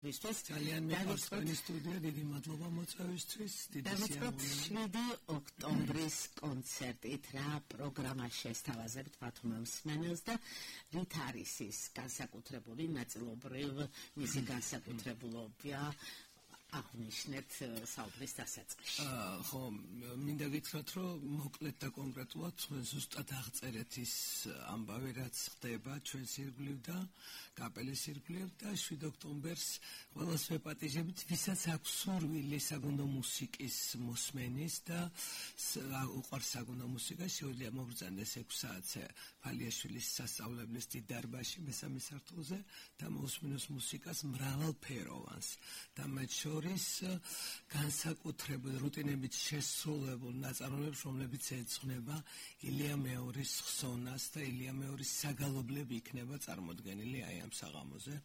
ძალიან მეყვარს თქვენი სტუდია, დიდი მადლობა მოწვევისთვის. დავიწყოთ 7 ოქტომბრის კონცერტით, რა პროგრამა შესთავაზებთ ბათუმ მსმენელს და რით არის ის განსაკუთრებული ნაწილობრივ მისი განსაკუთრებულობა აღნიშნეთ საუბრის დასაწყისში. ხო, მინდა გითხრათ, რომ მოკლედ და კონკრეტულად ჩვენ ზუსტად აღწერეთ ის ამბავი, რაც ხდება ჩვენს ირგვლივ და კაპელის ირგვლივ და 7 ოქტომბერს ყველას ვეპატიჟებით, ვისაც აქვს სურვილი საგუნდო მუსიკის მოსმენის და უყვარს საგუნდო მუსიკა, შეუძლია მოგრძანდეს 6 საათზე ფალიაშვილის სასწავლებლის დიდ დარბაზში მესამე სართულზე და მოусმინოს მუსიკას მრავალფეროვანს და მათ შორის განსაკუთრებულ რუტინებით შესრულებულ ნაწარმოებებს, რომლებიც ეძღვნება ილია მეორის ხსონას და ილია მეორის საგალობლები იქნება წარმოდგენილი აი ამ საღამოზე.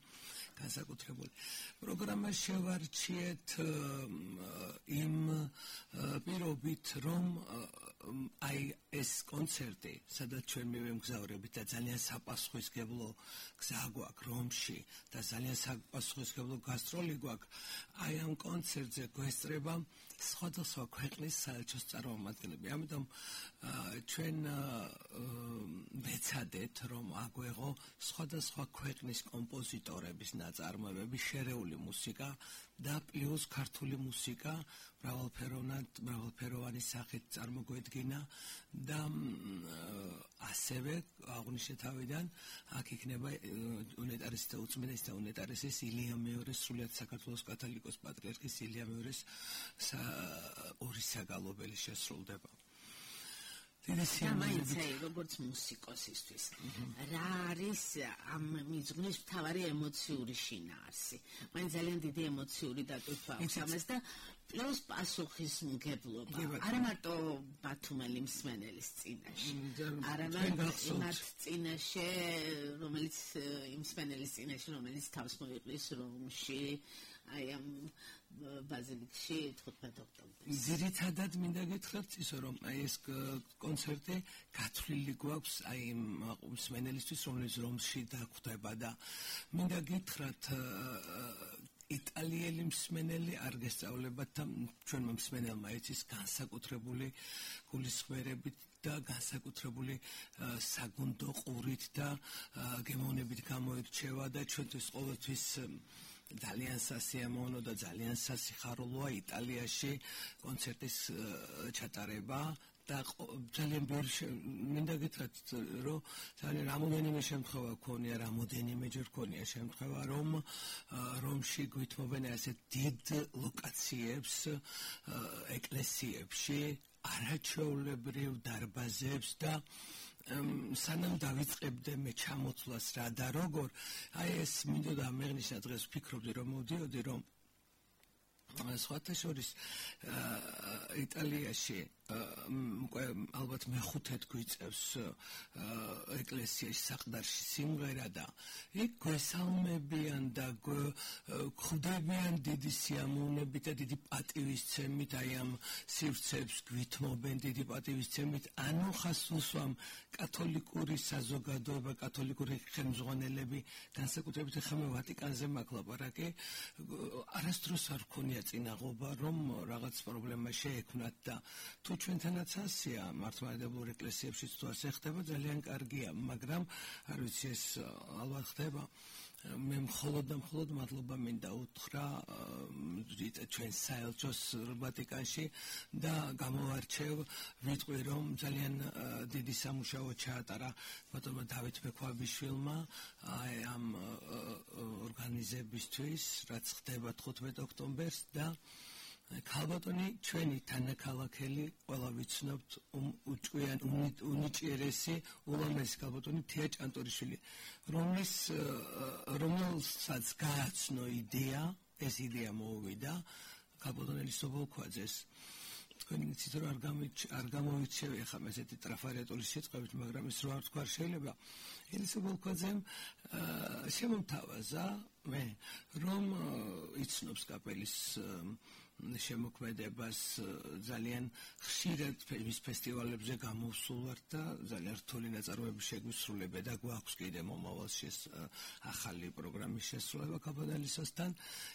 განსაკუთრებული პროგრამა შევარჩიეთ იმ პირობით, რომ აი ეს კონცერტი, სადაც ჩვენ მივემგზავრებით და ძალიან საპასუხისმგებლო გზა გვაქვს რომში და ძალიან საპასუხისმგებლო გასტროლი გვაქვს, აი ამ კონცერტზე გვესწრება სხვადასხვა ქვეყნის საელჩოს წარმომადგენლები. ამიტომ ჩვენ ვეცადეთ, რომ აგვეღო სხვადასხვა ქვეყნის კომპოზიტორების ნაწარმოებები, შერეული მუსიკა და პლუს ქართული მუსიკა მრავალფეროვანი სახით წარმოგვედგინა და ასევე აღნიშნე თავიდან აქ იქნება უნეტარესის და უწმიდესის და უნეტარესის ილია მეორის სრულიად საქართველოს კათოლიკოს პატრიარქის ილია მეორის ორი საგალობელი შესრულდება. მაინცაი როგორც მუსიკოსისთვის რა არის ამ მიზნის მთავარი ემოციური შინაარსი? მაინც ძალიან დიდი ემოციური დატვირთვა აქვს ამას და პლუს პასუხისმგებლობა. არა მარტო ბათუმელი მსმენელის წინაშე, არამედ იმათ წინაშე, რომელიც იმ მსმენელის წინაშე, რომელიც თავს მოიყრის რომში, აი ამ ბაზილიკში 15 ოქტომბერს. ძირითადად მინდა გითხრათ ისო, რომ აი ეს კონცერტი გათვლილი გვაქვს აი იმ მსმენელისთვის, რომელიც რომში დაგვხვდება და მინდა გითხრათ იტალიელი მსმენელი არ გესწავლებათ და ჩვენმა მსმენელმა იცის განსაკუთრებული გულისხმერებით და განსაკუთრებული საგუნდო ყურით და გემოვნებით გამოირჩევა და ჩვენთვის ყოველთვის ძალიან სასიამოვნო და ძალიან სასიხარულოა იტალიაში კონცერტის ჩატარება და ძალიან მინდა გითხრათ, რომ ძალიან რამოდენიმე შემთხვევა ქონია, რამოდენიმეჯერ ქონია შემთხვევა, რომ რომში გვითმობენ ასეთ დიდ ლოკაციებს, ეკლესიებში, არაჩვეულებრივ დარბაზებს და სანამ დავიწყებდე მე ჩამოცვლას რა და როგორ, აი ეს მინდოდა მეღნიშნა დღეს ვფიქრობდი, რომ მოვდიოდი, რომ სხვათა შორის იტალიაში ალბათ მეხუთედ გვიწევს ეკლესიაში საყდარში სიმღერა და იქ გვესალმებიან და გვხვდებიან დიდი სიამოვნებით და დიდი პატივისცემით აი ამ სივრცეებს გვითმობენ დიდი პატივისცემით ანუ ხას უსვამ კათოლიკური საზოგადოება კათოლიკური ხელმძღვანელები განსაკუთრებით ახლა მე ვატიკანზე მაქვს ლაპარაკი არასდროს არ ქონია წინაღობა რომ რაღაც პრობლემა შეექმნათ და თუ ჩვენთანაც ასია მართლმადიდებლურ ეკლესიებშიც თუ ასე ხდება ძალიან კარგია მაგრამ არ ვიცი ეს ალბათ ხდება მე მხოლოდ მადლობა მინდა უთხრა ჩვენ საელჩოს ვატიკანში და გამოვარჩევ ვიტყვი რომ ძალიან დიდი სამუშაო ჩაატარა ბატონმა დავით მექვაბიშვილმა ამ ორგანიზებისთვის რაც ხდება 15 ოქტომბერს და ქალბატონი ჩვენი თანაქალაქელი ყველა ვიცნობთ უჭკვიან უნიჭიერესი ულამაზესი ქალბატონი თია ჭანტორიშვილი რომელსაც გააცნო იდეა ეს იდეა მოუვიდა ქალბატონელი სობოლქვაძეს თქვენი იცით რომ არ გამოვიჩევი ახლა ესეთი ტრაფარიატული სიტყვებით მაგრამ ის რო არ თქვა შეიძლება ელისაბოლქვაძემ შემომთავაზა მე რომ იცნობს კაპელის შემოქმედებას ძალიან ხშირად მის ფესტივალებზე გამოვსულ ვარ და ძალიან რთული ნაწარმოების შეგვისრულება და გვაქვს კიდე მომავალში ახალი პროგრამის შესრულება კაპელისასთან